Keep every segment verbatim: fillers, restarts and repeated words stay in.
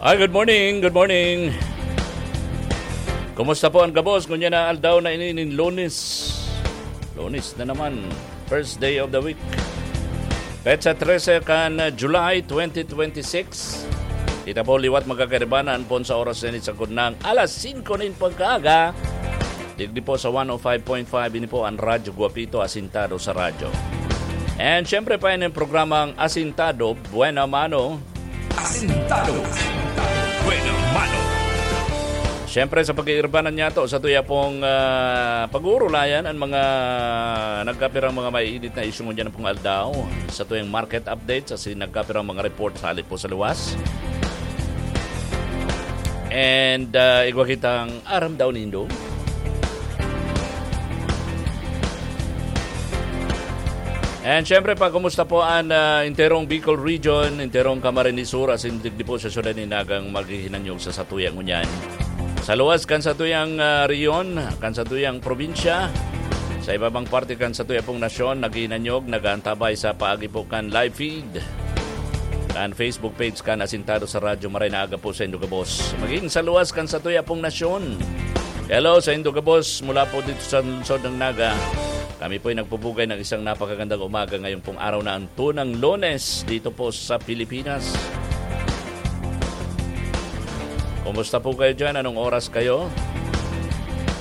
Ay, good morning, good morning. Kumusta po ang gabos? Ngunyan na aldaw na ini nin Lunes. Lunes na naman. First day of the week. Petsa trese kan July twenty twenty-six. Kita po liwat magkakaibanan po sa oras na ini sa kudnang alas singko nin pagkaaga. Digdi po sa one oh five point five, ini po ang Radyo Guapito, asintado sa radyo. And syempre pa, ini ang programang Asintado, Buena Mano. Asintado, Buena Mano. Siyempre, sa pag-iirbanan niya to, sa tuya pong, ah, pag-uurulayan ang mga nagkapirang mga maiinit na isyu ngunyan pong aldaw, sa tuyang market update, sa si-, nagkapirang mga report sa halip po sa luwas. And, ah, igwa kitang aram daw nindo. And syempre pa, kumusta po ang, ah, enterong Bicol Region, enterong Camarines Sur, asin digdi po sa syudad ni Nagang maghihinanyog sa satuyang ngunyan. Sa luwas kan satuyang, ah, rehiyon, kan satuyang probinsya, sa iba pang parte kan satuya pong nasyon, naghihinanyog, nag-aantabay sa paagi po kan live feed kan Facebook page kan Asintado sa Radyo. Maray na aga po sa indo gabos. Maging sa luwas kan satuya pong nasyon. Hello sa indo gabos mula po dito sa lungsod ng Naga. Kami po'y nagpupugay ng isang napakagandang umaga ngayong pong araw na ang tunang Lunes dito po sa Pilipinas. Kumusta po kayo dyan? Anong oras kayo?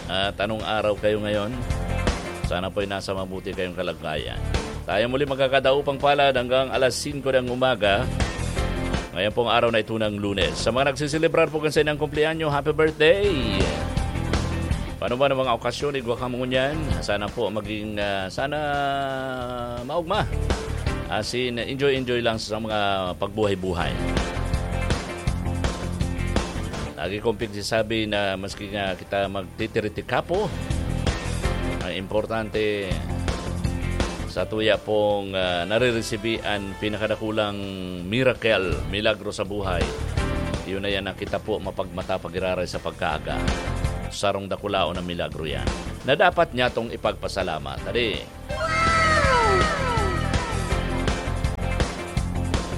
At anong araw kayo ngayon? Sana po'y nasa mabuti kayong kalagayan. Tayo muli magkakadaupang palad hanggang alas singko ng umaga. Ngayon pong araw na ito ng Lunes. Sa mga nagsiselebrar po kasi ng kumpleanyo, happy birthday! Paano ba ng mga okasyon, igwa ka mo ngunyan? Sana po maging, ah, sana maugma. As in, enjoy-enjoy lang sa mga pagbuhay-buhay. Lagi kong pigsasabi na maski nga kita magtitiriti-kapo, ang importante sa tuya pong, ah, nariresibi an pinakadakulang miracle, milagro sa buhay. Yun na yan na kita po mapagmata pag-iraray sa pagkaaga. Sarong dakulaon na milagro yan na dapat niya tong ipagpasalamat. Tadi,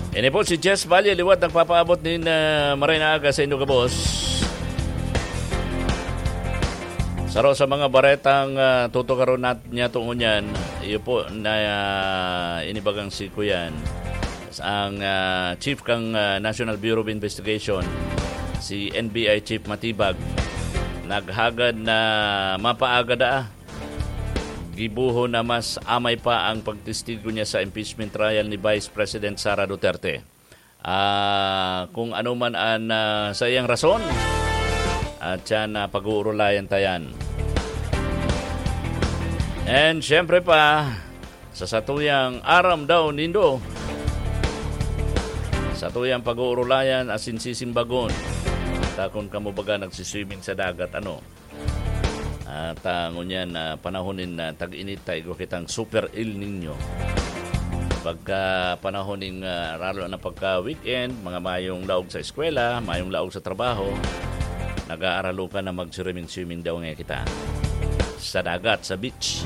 Ini po si Jess Valle, liwat nagpapaabot nin, ah, maray na aga sa indo gabos. Saro sa mga baretang, ah, tutukaron nat-, niya tungo niyan, iyo po na, ah, inibagang si Kuyan, ang, ah, chief kang, ah, National Bureau of Investigation, si N B I Chief Matibag, naghagad na mapaaga daa gibohon na mas amay pa ang pagtestigo niya sa impeachment trial ni Vice President Sara Duterte. Ah, kung ano man ang, ah, sa iyang rason, at siya na pag-uurulayan ta yan. And syempre pa, sa satuyang aram daw nindo, satuyang pag-uurulayan asin sisimbagon, takon kamo baga nagsiswimming sa dagat, ano? At, ah, ngunyan, ah, panahon nin, ah, tag-init, ta igwa kitang Super El Niño. Pagka panahon nin, ah, lalo na pagka weekend, mga mayong laog sa eskwela, mayong laog sa trabaho, nag-aaralukan na mag-swimming-swimming daw nga kita. Sa dagat, sa beach.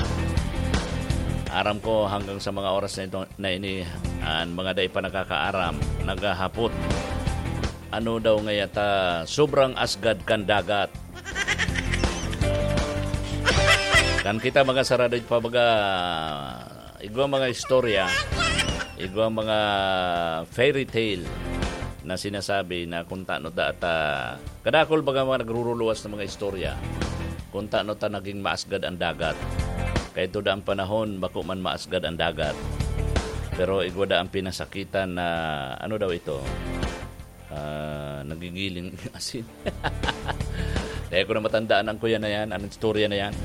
Aram ko, hanggang sa mga oras na ito, na ini, ang mga dai pa nakakaaram, naghahapot. Ano daw nga yata, sobrang asgad kan dagat. Kan kita mga sarado pa baga, igwa mga istorya, igwa mga fairy tale na sinasabi na kung tano da ta, kadakol baga mga nagruruluwas ng mga istorya, kung tano ta naging maasgad ang dagat. Kaya ito da ang panahon, bako man maasgad ang dagat. Pero igwa da ang pinasakitan na, ano daw ito? Ah, nagigiling asin. Dai ko na matandaan ang kuya na yan, ang istorya na yan.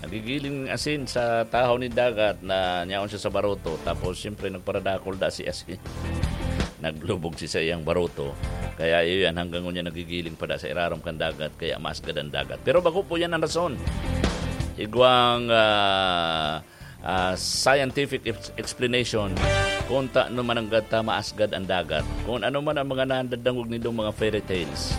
Nagigiling asin sa tahaw ni dagat na nyaon siya sa baroto. Tapos, siyempre, nagparadakol da si asin. Naglubog si sa iyang baroto. Kaya iyan, hanggang ngunyan nagigiling pa da sa irarom kan dagat. Kaya maasgad ang dagat. Pero bako po yan ang rason. Igwang, ah, ah, scientific ex-, explanation kung ta-, ano man ang gata, maasgad ang dagat. Kung ano man ang mga nadadangog nindong mga fairy tales,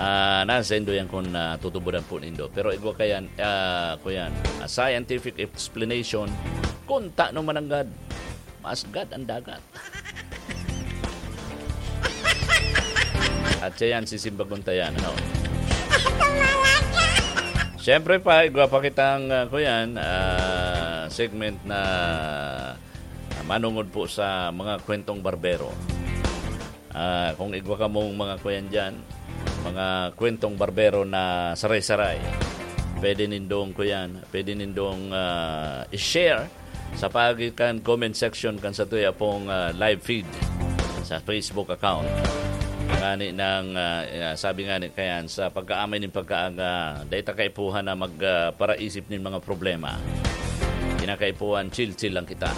ah, nasa indo yan kung, ah, tutuburan po nindo. Pero igwa kayan, ah, kuyan, a scientific explanation kung ta-, ano man ang gad, maasgad ang dagat. At siya yan, sisimbagon ta yan, ano? Siyempre pa, igwa pa kitang, ah, kuyan, ah, segment na, ah, manungod po sa mga kwentong barbero. Ah, kung igwa kamong mga kuyan dyan, mga kwentong barbero na saray-saray, pwede nindong kuyan, pwede nindong, ah, i-share sa paagi kan comment section kan satuya pong, ah, live feed sa Facebook account. Ngani nang, ah, ah, sabi ngani kayan, sa pagkaamay nin pagkaaga, dai ta kaipuhan na mag, ah, paraisip nin mga problema. Kinakaipuhan, chill-chill lang kita.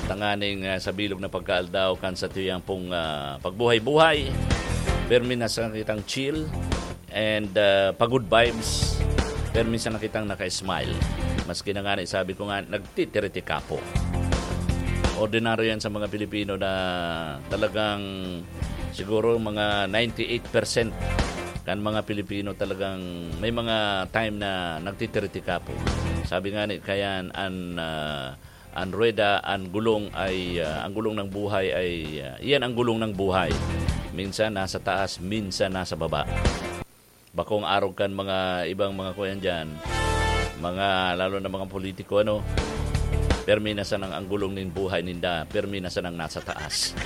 Tanganing, ah, sa bilog na pagkaaldaw kan satuyang pong, ah, pagbuhay-buhay, permi na sa kitang chill and, ah, pa-good vibes, permi sa nakitang naka-smile. Maski na nga ni sabi ko nga, nagtitiriti-kapo. Ordinaryo yan sa mga Pilipino na talagang siguro mga ninety-eight percent kan mga Pilipino talagang may mga time na nagtitiriti-kapo. Sabi nga ni kayan, an, ah, an ruweda, an gulong ay, ah, ang gulong ng buhay ay, ah, iyan ang gulong ng buhay. Minsan nasa taas, minsan nasa baba. Bakong arog kan mga ibang mga kuyan diyan, mga, lalo na mga politiko, ano, permi na sanang ang gulong nin buhay ninda, permi na sanang nasa taas.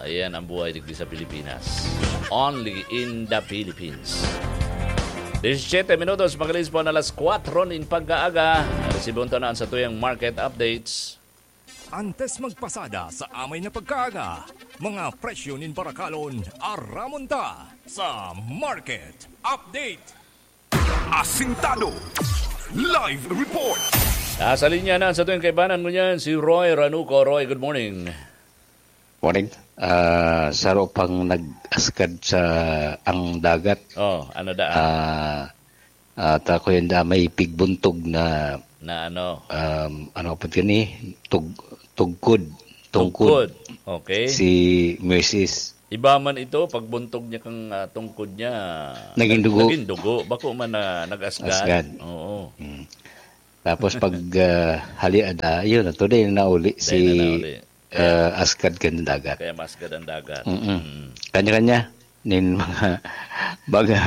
Ayan ang buhay digdi sa Pilipinas. Only in the Philippines. Disisyete minutos, magalis po na alas kwatro nin pagkaaga. Resibon ta na ang satuyang market updates. Antes magpasada sa amay na pagkaaga, mga presyo nin barakalon, aramon ta sa market update. Asintado. Live report. Nasa linya na sa tuwing kaibanan ngunyan, si Roy Ranuco. Roy, good morning. Morning. Ah, saro pang nag-askad sa ang dagat. Oh, ano da? Ah, ah, ta ko yun da, may pigbuntog na, Na ano? Um, ano pa yun eh? Tug-, tugkod. Tungkod. Tungkod. Okay. Si Moises. Iba man ito, pagbuntog niya kang, ah, tungkod niya, Naging nag-, dugo. Naging dugo. Bako man na nag-asgad. Asgad. Oo. Mm. Tapos pag, ah, halian, ah, yun, ito din nauli Dahil si, na nauli. ah, Askad kan dagat. Kaya maskad ang dagat. Mm-mm. Mm. Kanya-kanya nin mga, mga,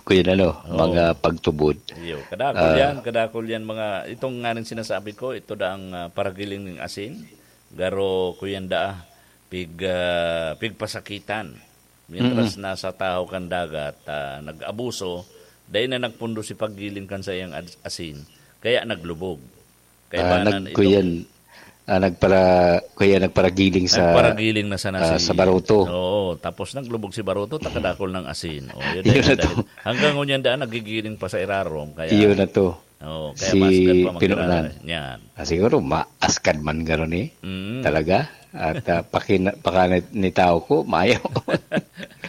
kuya, ano, Oo. mga pagtubod. Iyo, kadakol Ah. yan, kadakol yan mga, itong nga nang sinasabi ko, ito da ang, ah, paragiling ng asin, garo, kuyan da, pig, ah, pigpasakitan. Mientras Mm-mm. nasa tahaw kan dagat, ah, nag-abuso, dai na nagpundo si paggiling kan saiyang ad-, asin, kaya naglubog. Ah, Kaibanan nag-, itong kuyan, ah, nagpara-, kuya, nagparagiling sa, Nagparagiling na sana ah, si sa baruto. Oo, tapos naglubog si baruto, takadakol ng asin. Oh, yun Yun na na to. dahil hanggang ngunyan daan, nagigiling pa sa irarom, kaya Yun na to. Oo, kaya Si maskad pa Pinunan. magkilala. Yan. Ah, siguro, maaskad man garo ni. Mm. Talaga. At, ah, pakina-, pakana-, ni tao ko, mayo.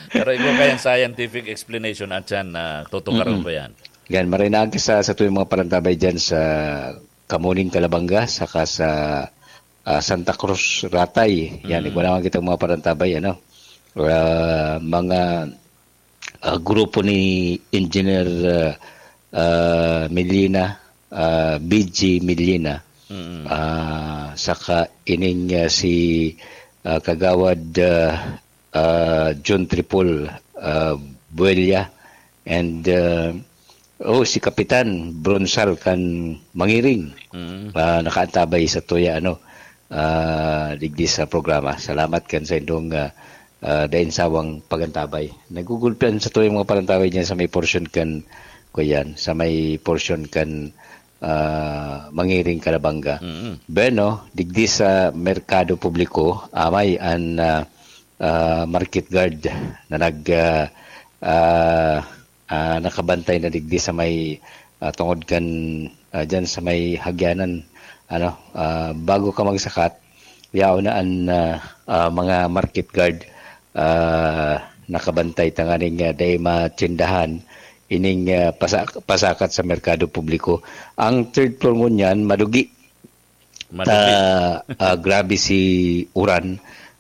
Pero ikaw kayang scientific explanation at yan, ah, tutukaran Mm-mm. ko yan. Yan, marinag sa, sa tuwing mga parantabay dyan sa Kamuning, Calabanga, saka sa, ah, Santa Cruz, Ratay. Yan, Mm. igwa naman kitang mga parantabay, ano. Ah, mga, ah, grupo ni Engineer, ah, ah, Milina, ah, B G Milina. Mm. Ah, saka ining, ah, si, ah, Kagawad, ah, ah, John Tripol, ah, Buella, and, ah, oh, si Kapitan Bronsal kan Mangiring, Mm. ah, nakaantabay sa tuya, ano, ah, digdi sa programa. Salamat kan sa indong, ah, ah, dain sawang pagantabay. Nagugulpian sa tuyang mga pagantabay diyan sa may portion kan, kuyan, sa may portion kan, ah, Mangiring, Calabanga. Mm. Bueno, digdi sa merkado publiko, amay an, ah, ah, market guard na nag, ah, ah, ah, nakabantay na digdi sa may, ah, tungod kan, ah, dyan sa may hagyanan, ano, ah, bago ka magsakat, yaon na an, ah, ah, mga market guard, ah, nakabantay tanganing, ah, dai matsindahan ining, ah, pasa-, pasakat sa merkado publiko. Ang third floor ngunyan, madugi. Madupit. Ta, ah, grabe si uran,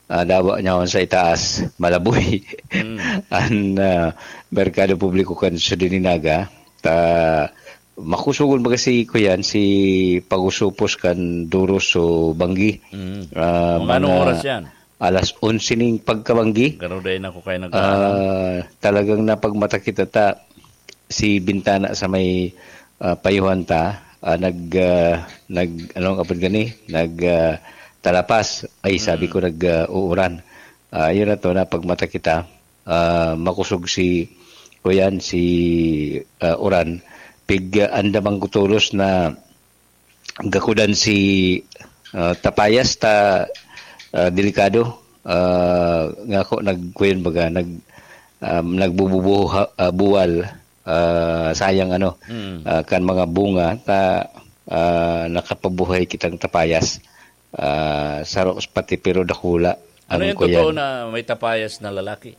ah, dawa niya sa itaas, malaboy. Mm. An, ah, merkado publiko kan Siyudad ni Naga, ta, makusugon baga si, kuyan, si pag-usupos kan duros o banggi. Mm. Ah, Mga anong mga oras yan? alas onse ning pagkabanggi. Garo dai na ko kayo nag-aaram. Ah, talagang napagmata kita ta, si bintana sa may, ah, payuhan ta, ah, nag, ah, nag, anong apod gani? Nag, ah, talapas. Ay, sabi Mm. ko, nag, ah, uuran. Ah, yun na to, napagmata kita. Ah, makusog si, kuyan, si, ah, uran. Pig, ah, andamang kutulos na gakudan si, ah, tapayas ta, ah, delikado. Ah, nga ako nagkuyan baga, nag, um, nagbububuha-, ah, buwal, ah, sayang ano, Mm. ah, kan mga bunga ta, ah, nakapabuhay kitang tapayas. Ah, saro pati pero dakula Ano ang yung kuyan. Totoo na may tapayas na lalaki?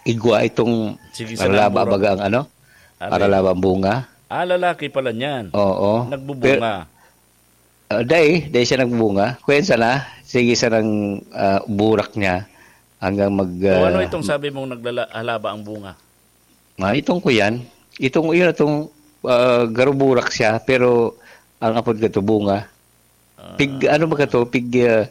Igwa itong Sige, sa aralaba nang mura. Baga ang ano? Amen. Aralaba ang bunga. Ah, lalaki pala niyan. Oo. Nagbubunga. Pero, ah, dai, dai siya nagbubunga. Kuyan sana, sige sanang, ah, burak niya hanggang mag, So, ano ah, itong sabi mong naglala-, halaba ang bunga? Ah, itong kuyan, itong, yun, itong, ah, garuburak siya, pero ang apod ka to, bunga. Ah. Pig, ano ba ka to? Pig, ah,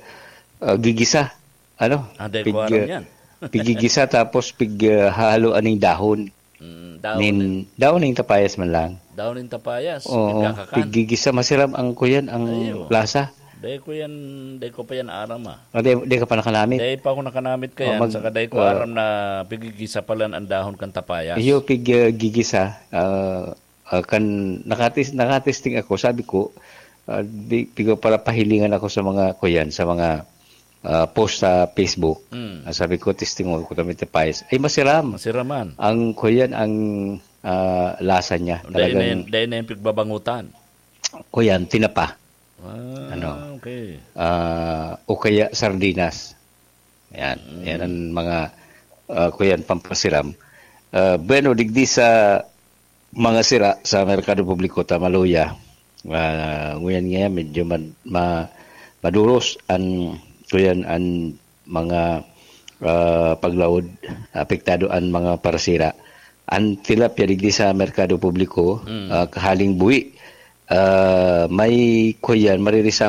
ah, gigisa. Ano? Ah, dai Pig, ko aram ah, yan. Pigigisa tapos pig, ah, hahaloan ning dahon. Mm, dahon Nin, nin dahon ning tapayas man lang. Dahon nin tapayas, Oo, pigkakakan. Pigigisa, masiram ang kuyan, ang Ayo. Lasa. Dai ko yan, dai ko pa yan aram, ah. Ah, dai, dai ka pa nakanamit? Dai pa ako nakanamit Oh, kayan, mag-, saka dai ko ah, aram na pigigisa pala ang dahon kan tapayas. Iyo, pig, ah, gigisa, ah, ah, kan nakatis-, nakatesting ako, sabi ko, ah, di, pigo para pahilingan ako sa mga kuyan, sa mga, ah, post sa Facebook. Mm. Ah, sabi ko, "Testing mo ko kami tapayas." Ay, masiram. Masiraman. Ang kuyan, ang, ah, lasa niya. Dai na Talagang yan, dai na yung pigbabangutan. Kuyan, tinapa. Ah, Ano? Okay. Ah, o kaya sardinas. Yan. Mm. Yan ang mga, ah, kuyan, pampasiram. Ah, bueno, digdi sa mga sira sa merkado publiko, ta maluya. Ah, nguyan nga, medyo mad-, ma-, maduros an, kuyan, an mga, ah, paglaod, apektado an mga parasira. An tilapia digdi sa merkado publiko, Mm. ah, kahaling buhi, ah, may kuyan, maririsamang